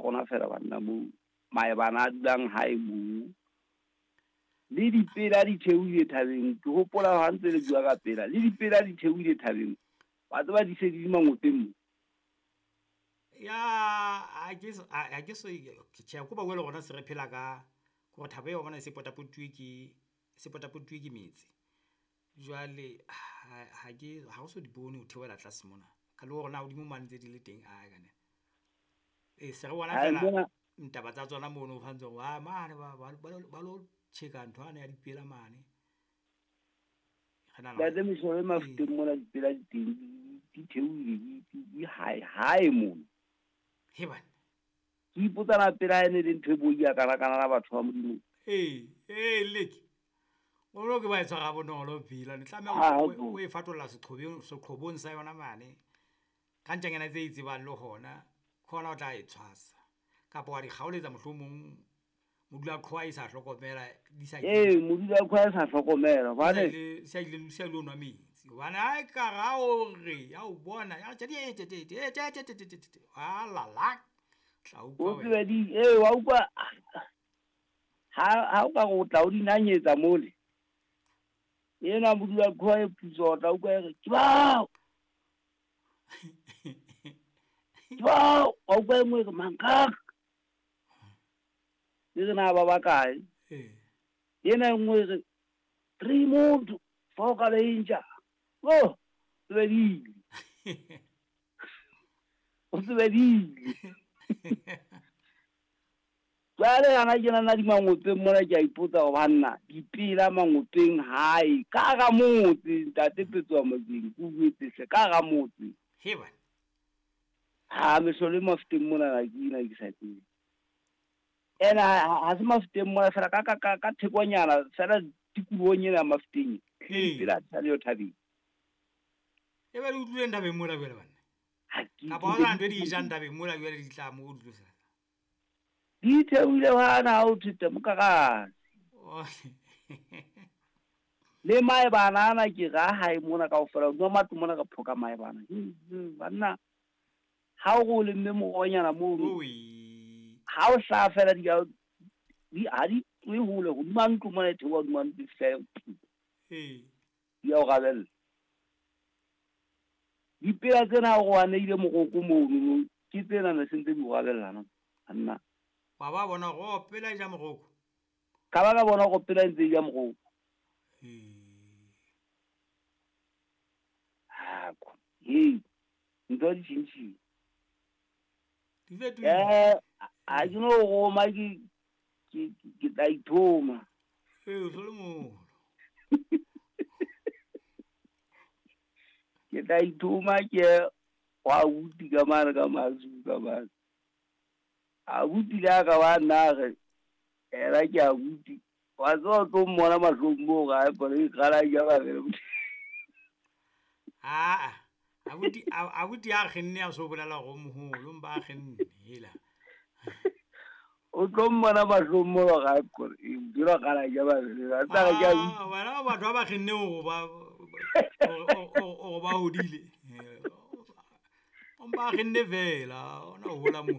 rona fela banna moo maebana a dulang hae moo. Le dipela di theohile thabeng, ke hopola ha ntse le bua ka pela, le dipela di theohile thabeng. Wa tseba di se di le mangopeng mo. Ya ha ke ha ke so tjhe ko ba bua le rona se re phela ka kore thaba eo wa bona e se potapotuwe ke se potapotuwe ke metse. Jwale ha ke ha o so di bone ho theohela tlase mona. Ka le hore na hodimo mane ntse di le teng ae kane. E se re bona fela ntaba tsa tsona mono ho ntse hore mane ba lo tjheka ntho yane ya dipela mane. Re nahana Ntate mehlolo e Mafeteng mona dipela di teng di theohile di hae hae mona. He bana. Ke ipotsa na pela ene le ntho e boi ya kana kana la batho ba Modimo. Ee, ee leke. O lo ke ba e tshwara bonolo pila. Ne tlameha o e fatolla seqhobong seqhobong sa yona mane. Ka ntjanyana tse itsebang le hona, ke hona o tla e tshwasa. Kapa wa di kgaoletsa mohlomong modula qhowa e sa hlokomela di sa Ee, modula qhowa e sa hlokomela hobane sa ile sa ile nwa metsi. Hobane ha e ka ra o re ya o bona ya tje tje tje tje tje tje tje tje. A la la. Tla utlwa. O tsebe di ee wa utlwa ha o ka re o tla o di nanyetsa mole. Ena modula qhowa e putswa o tla utlwa e re ke bao. Ke bao, wa utlwa e nngwe e re mankak. E re na ba bakae? Ena e nngwe e re 3 motho fa o ka bentja. Oh, tsebedile. O tsebedile. Jwale hana ke nana di mangopeng mona ke a ipotsa hore banna dipela mangopeng hae ka hara motse ntate Petsoha Mojeng ke o jwetse hle ka hara motse. He bana. Ha mehlolo e Mafeteng mona na ke ena ke sa tsebe. Ena ha se Mafeteng mona fela ka ka ka ka thekonyana fela tikolohong ena ya Mafeteng. Dipela di sa le yo thabeng. E ba di utlwileng thabeng mola jwale banna. Kapa hona ntho e di jang thabeng mola jwale di tla mo di tlosa. Di theohile hana ha o thete mokarase. Le maebana ana ke ra hae mona kaofela, hodima matlo mona re phoka maebana. Banna, ha o re o lemme morohonyana mono, ha o hlaha fela di ha di tlohe hole, hodima ntlo mona e theoha hodima ntlo e fihla e di a o rabella. Dipela tsena ha o re wa neile moroko mono, ke tsena ne se ntse di o rabella no. Banna. Wa ba bona hore o pela e ja moroko. Ka ba ka bona hore pela e ntse e ja moroko. Hako. Hei, ntho di tjhentjhile. Di fetohile. Ha ke no roma ke tla ithoma. Ee, o so le moholo. Ke tla ithoma ke wa abuti ka mane ka Mazulu ka mane. Abuti le a ka ba nna re ena ke abuti. Wa tseba o tlo mmona mahlong moo ga e pone e qala ja ba re. Aa, abuti abuti a kgenne a so bolela go moholo mba a kgenne hela. O tlo mmona mahlong moo ga e pone e dira qala ja ba re. A tla re ke abuti. Ah, wena batho ba ba kgenne go ba o ba hodile. O mba kgenne fela, ona o hola mo.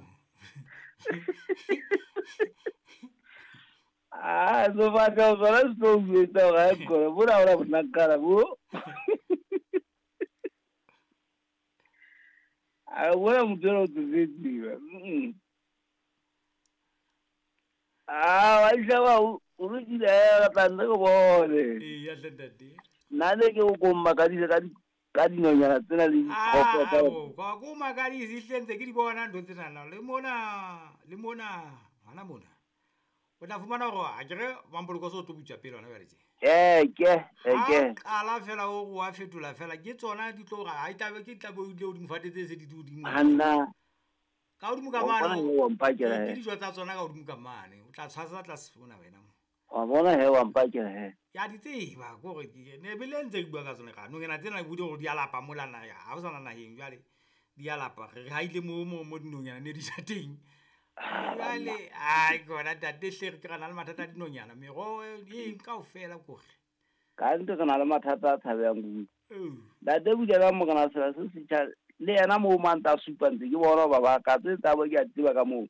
Ah, so batla ho sona se tlo o jwetsa hore ha e kgone, bona ha ona bonakana bo. A bona motho enwa o tsofetse. Ah, wa isha o lokile re tla nne re bone. Ee, ya hle ntate. Nna ne ke o ko mmakadise ka dinonyana tsena le diphoofolo tsa Ka ko makadise hle ntse ke di bona ntho tsena le mona, le mona, hona mona. O tla fumana hore ha ke re Mampoloko so tlo butswa pele hona jwale tje. Ke. Ha qala fela o wa fetola fela ke tsona di tlo ha e tlabe ke tlabe o ile hodimo fate tse se di hodimo. Hanna. Ka hodimo ka mane. Ke dijo tsa tsona ka hodimo ka mane. O tla tshwasa tlase mona wena. Wa bona he wa mpakela he. Ya di tseba ko re ne bele ntse ke bua ka tsona ka nonyana tsena ke bude hore di a lapa mola na ha o sana naheng jwale di a lapa re haile mo mo dinonyana ne di ja teng. Jwale ai kona ntate hle re ke re na le mathata a dinonyana meroho eng kaofela kore. Ka nnete re na le mathata a tshabehang kudu. Ntate Bulela Morena sela se setjha le yena moo mantsa a supa ntse ke bona ba ba ka tse tsa bo ke a tseba ka moo.